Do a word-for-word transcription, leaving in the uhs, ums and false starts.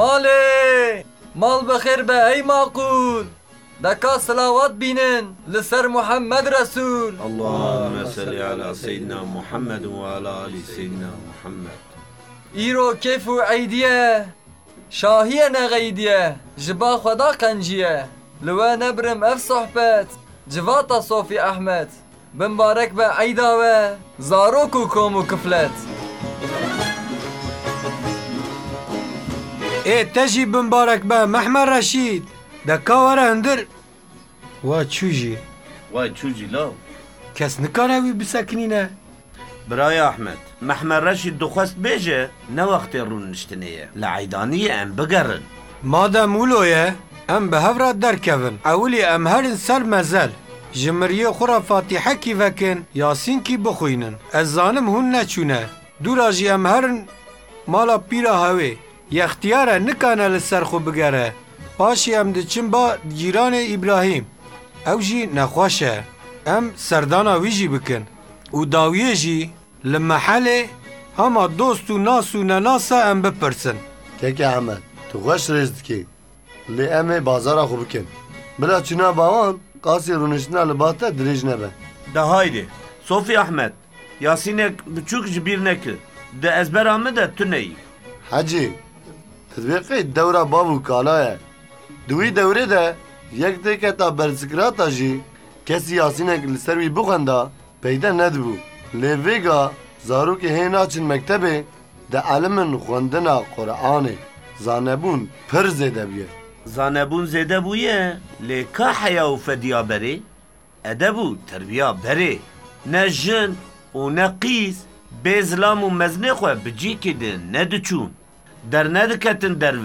Malê! Mal bi xêr be ey maqûl! Deka silawat bînin li ser Muhammed Resûl. Allahümme salli ala seyyidina Muhammed ve ala ali seyyidina Muhammed. Îro kêf û eydî ye, şahî ye ne xeydî ye, ji ba Xweda qencî ye. Li we nebirim ev sohbet, civata Sofî Ehmed. Bimbarek be eyda we, zarok û kom û kiflet. Ê te jî bimbarek be Mehmed Reşîd. Deka were hundir. Wa çû jî. Wa çû jî law. Kes nikare wî bisekinîne. Birayê Ehmed, Mehmed Reşîd dixwest bêje, ne wextê rûniştinê ye. Li eydaniyê em bigerin. Madem wilo ye, em bi hev re derkevin. Ewilî em herin ser mezel. Ji miriyê xwe re fatîhekî vekin, yasînkî bixwînin. Ez zanim hûn neçûne. Dûra jî em herin mala pîra hewê. Yextiyar e, nikane li ser xwe bigere. Paşî em diçin ba cîranê Îbrahîm. Ew jî nexweş e. Em serdana wî jî bikin. Û dawiyê jî li mehelê hema dost û nas û nenasa em bipirsin. Keke Ehmed, tu xweş rêz dikî. Lê em ê bazara xwe bikin. Bila çûna ba wan, qasî rûniştina li ba te dirêj nebe. De haydê, Sofî Ehmed, Yasînek biçûk ji bîr nekir. Di ezbera min de tu neyî. Hecî, tu dibê qey dewra bav û kala ye. Di wî dewrê de yek têketa bersikrata jî kesî Yasînek li ser wî bixwenda, peyde nedibû. Lê vêga zarokê hê naçin mektebê, dielimin xwendina Quranê. Zanebûn pir zêde bûye. Zanebûn zêde bûye, lê ka heya û fediya berê, edeb û terbiya berê. Ne jin û ne qîz bê zilam û mezinê xwe bi cîkî din nediçûn. Dernediketin derve.